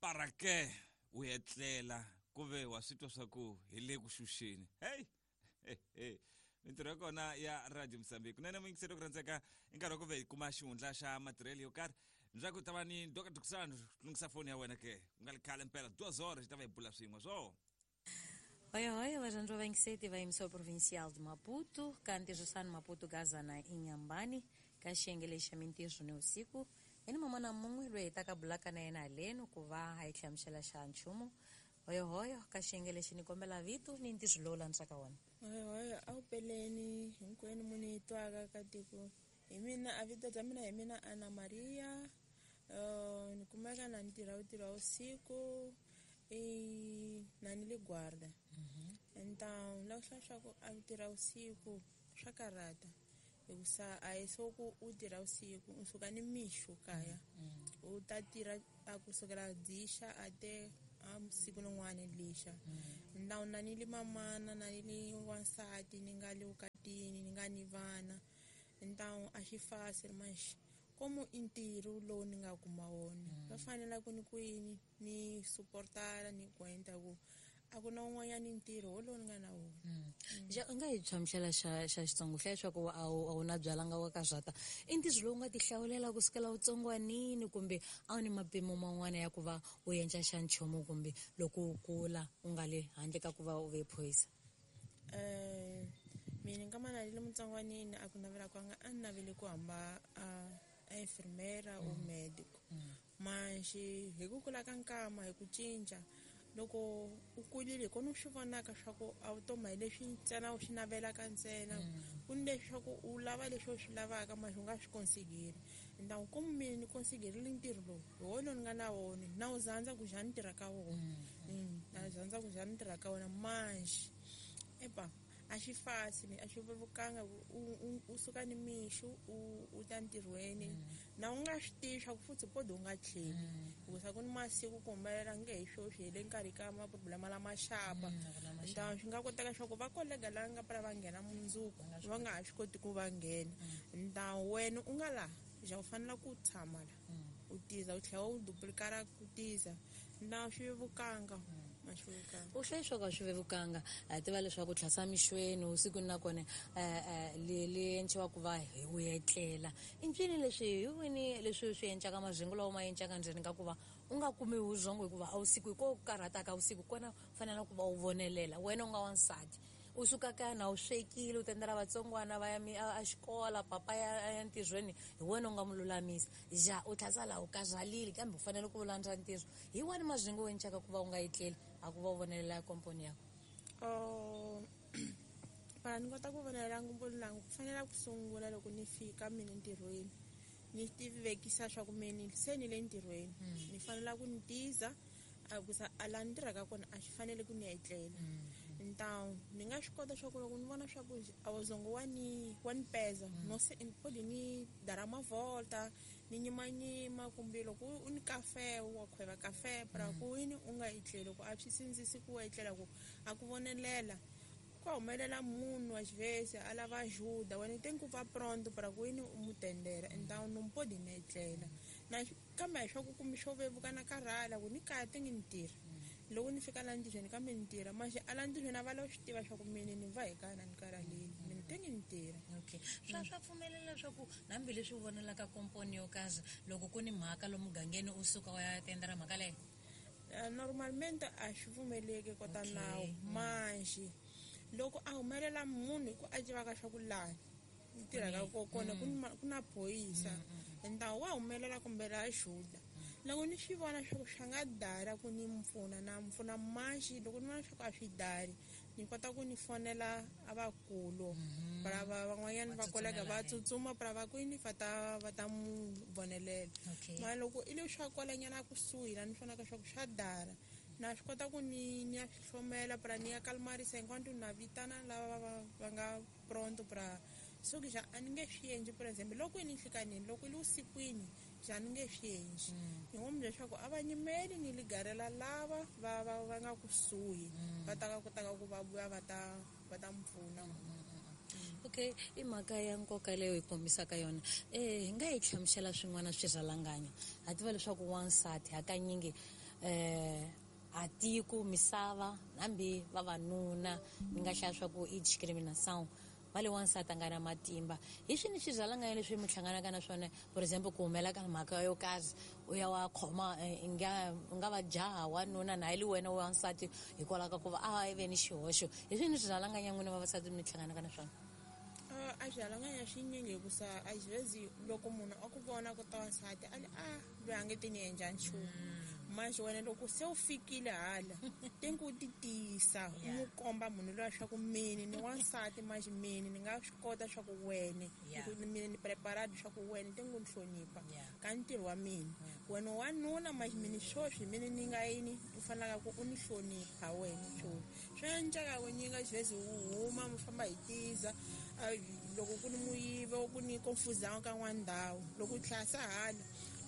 Para ke u etlela ku ve wa swi twa swa ku hi le ku xuxeni. Hey! Hey, mintirho ya kona ya Radio Mozambique. Kunene muyingiseri ku rhandzeka i nkarhi wa ku ve hi kuma xihundla xa matirhelo yo karhi. Ndzhaku ta va ni Dr. Dukusano lunghisa foni ya wena ke. Ku nga li khale mpela 2 horas hi ta va hi bula swin'we swo. Hoya hoya varhandzi va vayingiseti va emissora provincial de Maputo ka ntirhisano Maputo Gaza na Inhambane ka xiyenge lexi xa mintirho ni vusiku hi ni man'wana mun'we loyi hi taka bulaka na yena haleno ku va a hi hlamusela xa nchumu. Hoyohoyo ka xiyenge lexi ni kombela vito ni ntirho lowu landzaka wona. Hoyohoyo a wu peleni hinkwenu mu ni twaka ka tiko hi mina a vito bya mina hi mina Ana Maria. Ni kumeka na ni tirha vutirha vusiku i na ni le guarda. Então la ku hlaya swa ku a tirha vusiku swa karhata hikusa a hi so ku u tirha vusiku u suka ni mixo kaya u ta tirha a kusukela dzixa a te a siku rin'wana lixa. Então na ni li mamana na ni li wansati ni nga le vukatini ni nga ni vana. Então a xi fácil mas como i ntirho lowu ni nga kuma wona va fanela ku ni ku yini ni suportara ni kwenta ku a ku na un'wanyana ntirho wolowo ni nga na wona. Ja u nga hi hlamusela xa xa Xitsonga hlaya leswaku a wu na byalanga wa ka zwata i ntirho lowu nga ti hlawulela kusukela utsongwanini kumbe a wu ni mapimo man'wana ya ku va u endla xa nchumu kumbe loko u kula u nga le handle ka ku va u ve phorisa? Mina nkama na le mutsongwanini a ku navela kwanga a ni navele ku hamba a enfermeira or médico. Manjhe hi ku kula ka nkama hi ku cinca loko u kulile hi kona u swi vonaka swa ku a vutomi hi leswi ntsena u swi navelaka ntsena ku ni leswi swa ku u lava leswi u swi lavaka manje u nga swi konsigeri. Então como mina ni konsigerile ntirho lowu hi wona lowu ni nga na wona na wu zandza ku ja ni tirha ka wona. Na zandza ku ja ni tirha ka wona manje epa a xi fácil a xi vevukanga u suka ni mixo u ta ntirhweni na u nga swi tivi swa ku futhi podi u nga tlheli hikusa ku ni masiku ku humelela nge hi sweswi hi le nkarhi ka maproblema lama xapa. Então swi nga koteka swa ku va kolega lava nga pfala va nghena mundzuku va nga ha swi koti ku va nghena. Então wena u nga laha ja u fanela ku tshama la u tiza u tlhela u duplicara ku tiza na swi vevukanga. U hlaya leswaku a swi vevukanga ha tiva leswaku tlhasa mixweni usikwini nakona le enciwa ku va hi u etlela i ncini leswi hi wini leswi swi encaka mazingo lawa ma encaka ndzeni ka ku va u nga kumi vurhongo hikuva a wusiku hi ko karhataka vusiku kona u fanele ku va u vonelela wena u nga wansati u suka kaya na u swekile u tendela vatsongwana va ya a xikola papa ya ntirhweni hi wena u nga mu lulamisa ja u tlhasa laha u karhalile kambe u fanele ku landza ntirho hi wani mazingo u encaka ku va u nga etleli a ku va u vonelela komponi yakho. Para ni kota ku vonelela ngomponi langu ku fanele ku sungula loko ni fika mina ntirhweni ni tivekisa swa ku mina se ni le ntirhweni ni fanele ku ni tiza a kusa a laha ni tirhaka kona a xi fanele ku ni etlela. Então ni nga swi kota swa ku loko ni vona swa ku a wuzongo wa ni peza no se podi ni dara mavolta ni nyimanyima kumbe loko u ni kafe wa khweva kafe para ku yini u nga etleli ku a swi sindzisi ku etlela ku a ku vonelela ku humelela munhu wa xivese a lava ajuda wena tem ku va pronto para ku yini u mu tendela. Então não pode ni etlela na kambe hi swa ku kumbe swo vevuka na karhala ku ni kaya ti ngi ni tirha loko ni fika laha ntirhweni kambe ni tirha manje a laha ntirhweni a va lava swi tiva swa ku mina ni va hi kaya na ni karhalile mina ti ngi ni tirha. Okay swa pfumelela leswaku hambileswi u vonelaka komponi yo karhi loko ku ni mhaka lomu mugangeni u suka u ya tendela mhaka leyo? Normalmente a swi pfumeleki kota nawu manje loko a humelela munhu hi ku a tivaka swa ku laha ni tirhaka kona ku na phorisa então wa humelela kumbe la ajuda loko ni swi vona swa ku swa nga dara ku ni mpfuna na mpfuna manje loko ni vona swa ku a swi dari ni kota ku ni fonela a vakulu para van'wanyana va kolega va tsutsuma para va kwini va ta mu vonelela. Mara loko i le swa kwalanyana kusuhi la ni vonaka swa ku swa dara na swi kota ku ni ya swi hlomela para ni ya kalmarisa enquanto na vitana lava va nga pronto para so ke ja a ni nge swi endli. Por exemple loko i ni nhlikanini loko i le vusikwini ja ni nge swi endli ni ngo mi leswaku a va nyimeli ni ligarela lava va nga kusuhi va ta kotaka ku va vuya va ta mpfuna. Okay i mhaka ya nkoka leyo hi kombisaka yona. Hi nga hi hlamusela swin'wana swirhalanganyo ha tiva leswaku wansati hakanyingi A tiko misava hambi vavanuna ni nga hlaya swa ku i discrimination va le wansati a nga na matimba. Hi swini swirhalanganya leswi mi hlanganaka na swona, for example ku humela ka mhaka yo karhi u ya wa khoma u nga va jaha wanuna na li wena wansati hikwalaho ka ku va a ve ni xihoxo? Hi swini swirhalanganya n'wina vavasati mi hlanganaka na swona? A swirhalanganya swinyingi, hikusa a xivezi loko munhu a ku vona ku ta wansati a li a loyi a nge ti ni endla nchumu. Manje wena loko se u fikile hala tenku u ti tiyisa, u n'wi komba munhu loyi swa ku mini ni wansati, manje mini ni nga swi kota swa ku wene mina ni preparado swa ku wene tenku ni hlonipha ka ntirho wa mina. Wena wanuna manje mini swoswi mini ni nga yini u fanelaka ku u ni hlonipha wena. Swoswi swi endleka ku nyinga xivezi u huma mi famba hi tiza, loko ku ni muyivo ku ni confusão ka n'wana ndhawu, loko u tlhasa hala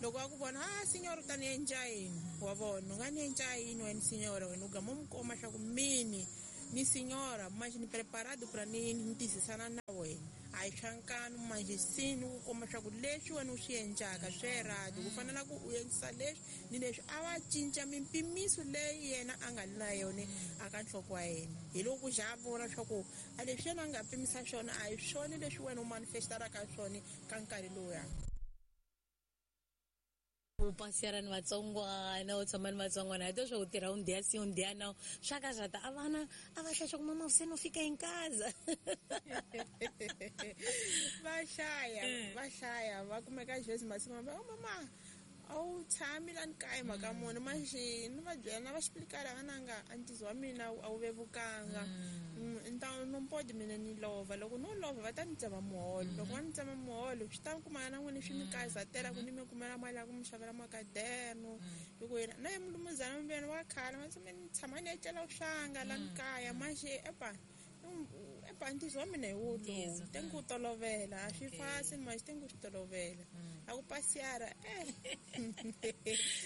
loko a ku vona a signora u ta ni endla yini, wa vona u nga ni endla yini wena signora, wena u gama u mi komba swa ku mini ni signora manje ni preparado pra ni tizisana na wena, a hi swa nkanu manje sini ku komba swa ku leswi wena u swi endlaka swi erado, ku fanela ku u endlisa leswi ni leswi. A va cinca mimpimiso leyi yena a nga na yona aka nhloko wa yena, hi loko ku za a vona swa ku a leswi yena a nga pimisa swona a hi swona leswi wena u manifestaraka swona ka nkarhi lowuya. U pasiyara ni vatsongwana, u tshama ni vatsongwana, hi to swa u tirha un dia sim un dia não, swa ka zata a vana a va hlaya swa ku mama se no fika em casa. Va hlaya, va hlaya, va kumeka xivezi masiku va oh mama a wu tshami lani kaya mhaka muni. Manje ni va byela na va xiplikala vananga a ntizo wa mina a wu vevukanga, nta no pode mina ni lova, loko no lova va ta ni tsema muholo, loko va ni tsema muholo swi ta kumana na n'wina swi mi kazatela ku ni mi kumela mali ya ku mi xavela makaderno, hi ku yena na ye mulumuzana mi wa khala ma ni tshama ni etlela swanga lani kaya. Manje epa epa ntizo wa mina hi wo lowu tenku tolovela a swi fasi manje tenku swi tolovela a ku pasiyara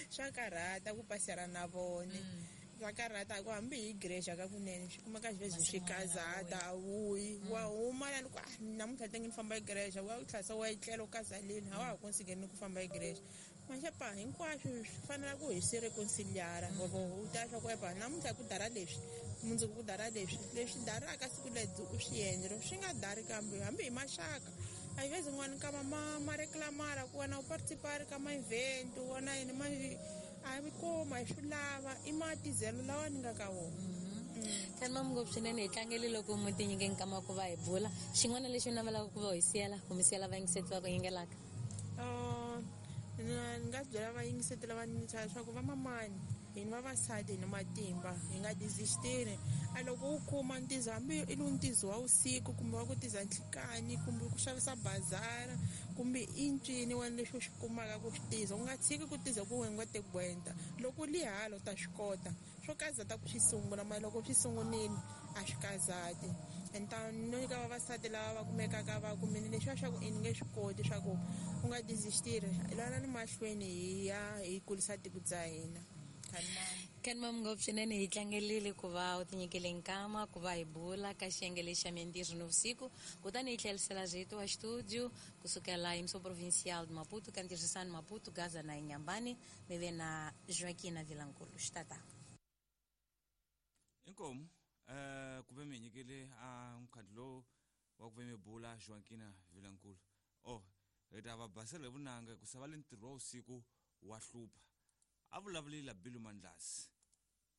swa karhata ku pasiyara na vone swa karhata ku hambi hi igreja ka kunene swi kumeka xivezi swi kazata a wuyi wa huma lani ku namuntlha tenge ni famba igreja wa tlhasa wa etlela u kazaleni a wa ha konsigeni ku famba igreja. Manje pa hinkwaswo swi fanela ku hi swi reconciliara u ta swa ku epa namuntlha ku dara leswi mundzuku ku dara leswi leswi daraka siku ledzi u swi endla loko swi nga dari kambe hambi hi maxaka a hi vezi n'wana kama ma reclamara ku wena u participari ka ma-event wena yini manje a hi kuma hi swi lava i matizelo lawa ni nga ka wona. Kani ngopfu swinene hi tlangele loko mi ti nyike nkama ku va hi bula. Xin'wana lexi u navelaka ku va hi siyela ku mi siyela vayingiseti va ku yingelaka? Ni nga byela vayingiseti lava ni leswaku vamamani hina vavasati hi ni matimba, hi nga desistiri. A loko u kuma ntizo hambi i lu ntizo wa vusiku kumbe wa ku tiza nhlikani kumbe ku xavisa bazara kumbe i ncini wena leswi u swi kumaka ku swi tiza, u nga tshiki ku tiza ku wena u nga te gwenta. Loko u li hala u ta swi kota swo kazata ku swi sungula, mara loko swi sungunile a swi kazati. Enta no nyika vavasati lava va kumekaka va kumile leswiya swa ku i ni nge swi koti swa ku u nga desistiri, lana ni mahlweni hi ya hi kulisa tiko bya hina. Kani mama ngopfu swinene hi tlangerile ku va u tinyikele nkama ku va hi bula ka xiyenge lexi xa mintirho nivusiku, kutani hi tlherisela rito wa studio kusukela emissão provincial de Maputo ka ntirhisano Maputo Gaza na Inhambane mi ve na Joaquina Vilankulu xitata. Inkomu ku ve mi nyikele a mukhandlu lowu wa ku ve mi bula Joaquina Vilankulu. Oh hi ta va basela hi vunanga ku sava le ntirho wa vusiku wa hlupha. A vulavulile Bilu Mandlasi.